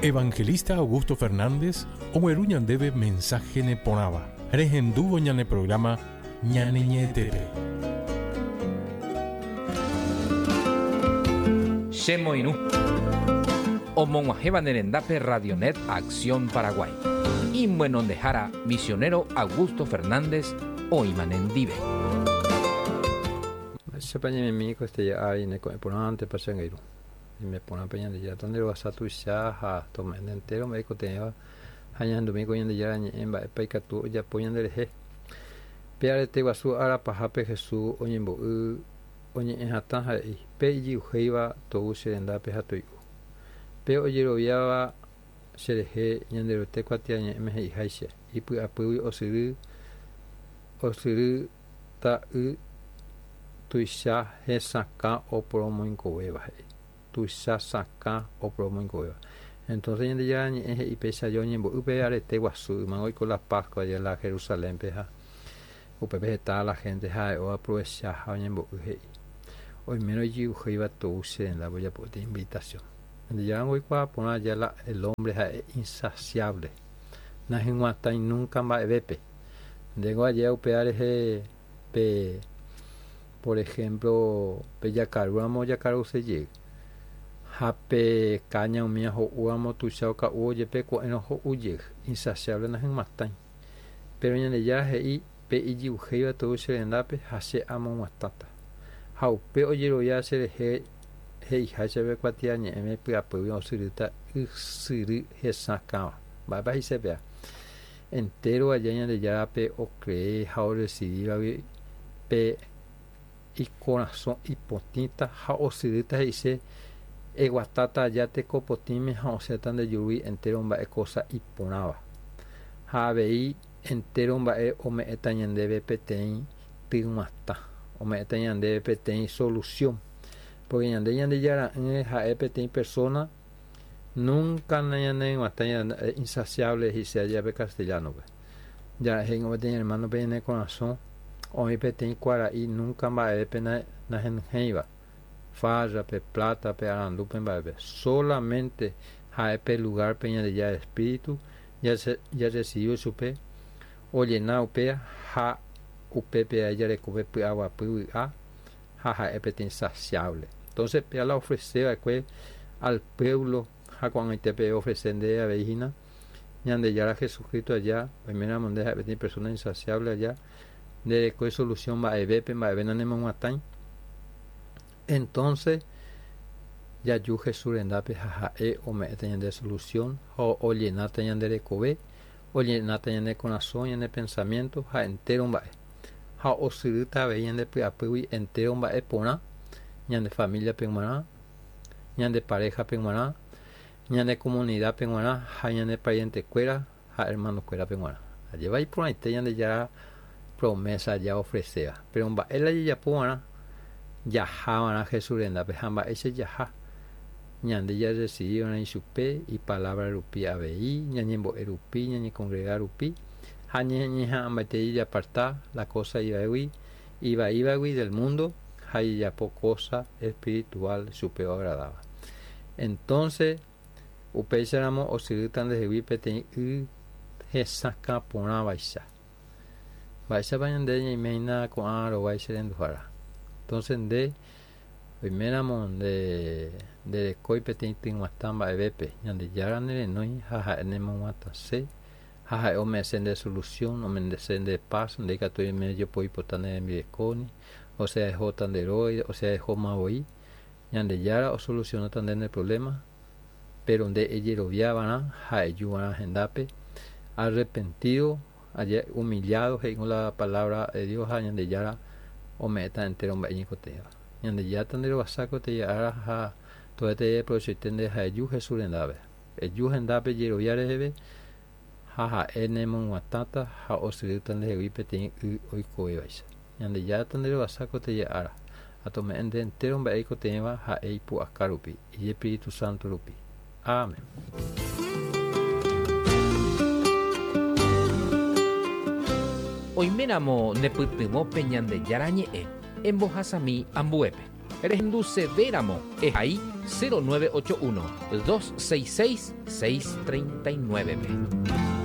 Evangelista Augusto Fernández ogueru ñandéve mensaje neporãva. Rehendúvo ñane programa ñane ñe'ẽtépe. Che moirũ. Omog̃uahẽva ne rendápe Radionet Acción Paraguay. Imyenondehára misionero Augusto Fernández oĩma nendive. Mba'éichapa ñaimemi ko este ári ne ko'ẽ porãntepa che angirũ. Ñaime porã pe Ñandejára tonderovasa tuicha ha tome'ẽ nde entéro mba'e ikotevẽva ha ñahendumi ko Ñandejára ñe'ẽ mba'épa ikatu ojapo ñanderehe. Pe arete guasu ára pahápe Jesús oñembo'y oñe'ẽ hatã ha he'i, Pe ijy'uhéiva tou che rendápe ha toi'u. Pe ojeroviáva che rehe Ñanderuete kuatiañe'ẽme he'iháicha, ipy'apýgui osyry osyrýta y tuicha hesakã oporomoingovéva, he'i. Tuicha sakã oporomoingovéva. Entonces Ñandejára Ñe'ẽ he'i péicha aja oñembo'y pe arete guasu, yma oiko la Pascua aja la Jerusalénpe ha upépe heta la gente ha'e oaprovecha ha oñembo'y he'i, Oimérõ ijy'uhéiva tou che rendápe ojapo peteĩ invitación. Ñandejára ningo oikuaa porã aja la el hombre ha'e insaciable, nahyg̃uatãi nunca mba'evépe. Ndéngo ajéa upéva rehe pe por ejemplo pe jakarúramo ojakaruse jey ha pe káña umía ho'úramo tuicha oka'úvo jepe ko'ẽrõ ho'u jey, insaciable nahyg̃uatãi. Péro Ñandejára he'i, Pe ijy'uhéiva tou che rendápe ha che amog̃uatãta. Ha upe ojerovia che rehe he'iháicha pe kuatiañe'ẽme py'apýgui osyrýta ysyry hesakãva. Mba'épa he'ise péva? Entéro aja Ñandejárape okree ha orresivívagui pe ikorasõ ipotĩta ha osyrýta he'ise eguatáta aja teko potĩme ha osẽta nde jurúgui entéro mba'e kósa iporãva. Ha avei entéro mba'e ome'ẽta ñandéve peteĩ tyg̃uatã, ome'ẽta ñandéve peteĩ solusión. Pórke ñande Ñandejara'ỹre ha'e peteĩ persóna Nunca nañaneg̃uatãi insaciable he'ise aja pe castellano-pe. Ja'e he'ingo peteĩ hermano-pe ñane korasõ oĩ peteĩ kuara'i nunca mba'evépe nahenyhẽiva, farra-pe, plata-pe, arandúpe mba'épe. Solamente ha'e pe lugar-pe Ñandejára Espíritu jarrecibívo chupe ollena upéa ha upépe ae jareko pe py'aguapy vy'a ha ha'e peteĩ saciable. Entonces péa la ofrece va'ekue al pueblo ha ko'ag̃aite peve ofrece ndéve avei hína, Ñandejára Jesucristo aja, oiméramo nde ha'e peteĩ persona insaciable aja, nderekói solución mba'evépe, mba'eve nanemog̃uatãi, entonces jaju Jesús rendápe ha ha'e ome'ẽta ñande solución ha ollenáta ñande rekove, ollenáta ñane korasõ, ñane pensamiento ha entero mba'e. Ha osyrýta avei ñande py'apýgui entéro mba'e porã ñande famíliape g̃uarã, ñande paréhape g̃uarã, ñane komunidápe g̃uarã ha ñane parientekuéra ha ermanokuérape g̃uarã. Ajépa iporãite Ñandejára promésa jaofreséva. Péro mba'e la jajapo va'erã? Jaha va'erã Jesús rendápe. Ha mba'éicha jaha? Ñande jarresivi va'erã ichupe ipalávra rupi avei, ñañembo'e rupi, ñañekongrega rupi ha ñañeha'ãmbaite jajaparta la kósa ivaígui ivaívagui del múndo ha jajapo kósa espirituál chupe oagradáva. Entónse, upéicharamo osyrýta ndehegui peteĩ y hesakã porãvaicha. Mba'éichapa ñande ñaime hína ko'ã rovái che renduhára? Entónse nde oiméramo nde nderekói peteĩ tyg̃uatã mba'evépe, Ñandejára nerenói ha ha'e nemog̃uatãse Ha ha'e ome'ẽse nde solución, ome'ẽse nde paz, nde ikatu oime ejopoipota ne rembirekóni, osea ehóta nde róga, osea ehóma voi, Ñandejára osolucionáta nde ne problema, pero nde ejerovia va'erã ha eju va'erã hendápe, arrepentido, humillado he'íko la palabra de Dios ha Ñandejára ome'ẽta entero mba'e ñeikotevẽva. Ñandejára tanderovasa ko tei ára ha toétei eprovechoite nde ha eju Jesús rendápe. Eju hendápe jerovia reheve, ha ha'e nemog̃uatãta ha osyrýta ndehegui peteĩ y oikovévaicha. Ñandejára tanderovasa ko teje ára, ha tome'ẽ nde entéro mba'e eikotevẽva ha'e ipu'aka rupi, Ijespíritu Sánto rupi. Amén. Oiméramo nepytyvõ pe Ñandejára Ñe'ẽ, embohasami ambuépe. Rehendusevéramo ehai 0981 266 639-pe.